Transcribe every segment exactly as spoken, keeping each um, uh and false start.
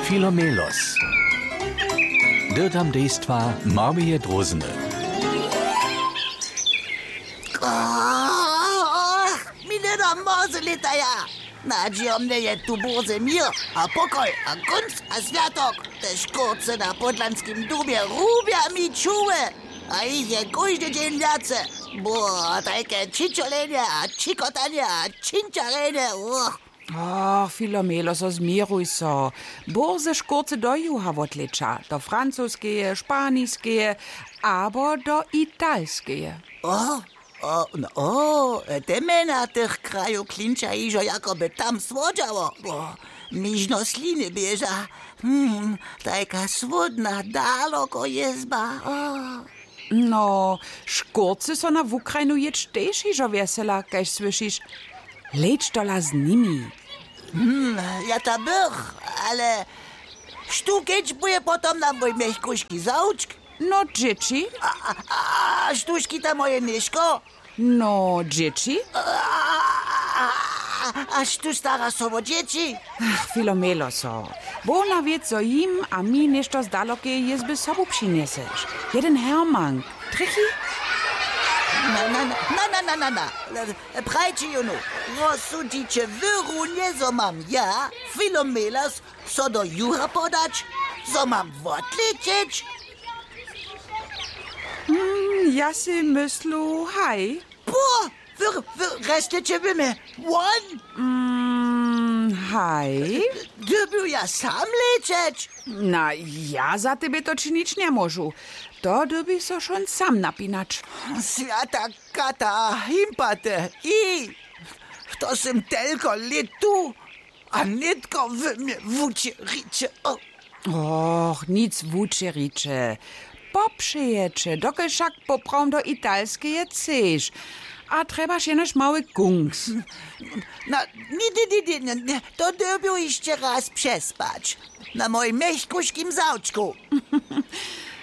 Filomelos. Dyrtam dejstwa Marmije Drózny. Ach, mi hnydom mórze lětaja. Nadźijomnje je tu bórze měr a pokoj a kónc a swjatok. Te škórce na podlanskim dubje rubja mi čuły. A jich je kóždy dźeń wjace. Bo, tajke čičolenje a čikotanje a činčarenje. Och. Och, Filomelo, so změruj so. Bórze škórce do juha wotlěča, do francoskeje, španiskeje abo do italskeje. O, o, no, o, te mjena tych krajow klinča hižo, jako by tam słodźało. O, mi žno sliny běža. Hm, tajka słódna, daloko jězba. O. No, škórcy so na Wukrajnu jěć tež hižo wjesela, kaž słyšiš. Leč tola z nimi. Hm, ja ta bych, ale štó kedźbuje potom na mój mjechkuški zawčk? No, dźěći. A, a, a štó škita moje něžko? No, dźěći. A, a, a, a štó stara so wo dźěći? Ach, Filomelo so. Wona wěc, zo jim a mi něšto z dalokeje jězby sobu přinjeseš. Jeden hermank. Trjechi? Na, na, na. Prajće jónu, rozsudźiće wy runje, zo mam ja, Filomelos, so do juha podać, zo mam wotlěćeć? Mm, ja sej myslu, haj. Po, wy, wy resteće wy mje won? Mm, haj. Dyrbju ja sam lećeć? Na, ja za tebje to činić njemóžu. To dyrbiš so wšón sam napinać. Swjata kata, himpate, i to sym telko lět tu, a nětko wy mje wučeriće. O. Och, nic wučeriće. Popřejeće, dokelž wšak poprawom do Italskeje chceš. A trjebaš jenož mały kungs. Na, ni, ni, ni, ni, ni, to dyrbju hišće raz přespać. Na mojim mjechkuškim zawčku.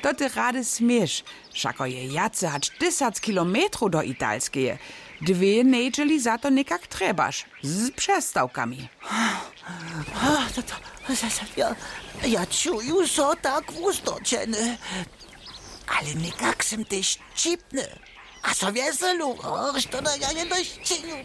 To ty rady směš. Wšako je wjace hač tysac kilometrow do Italskeje. Dwě njedźeli za to někak trjebaš. Z přestawkami. To, to, ja, ja čuju so tak wustočeny. Ale někak sym tež ćipny. A so wjeselu, och, što da ja jedno činju.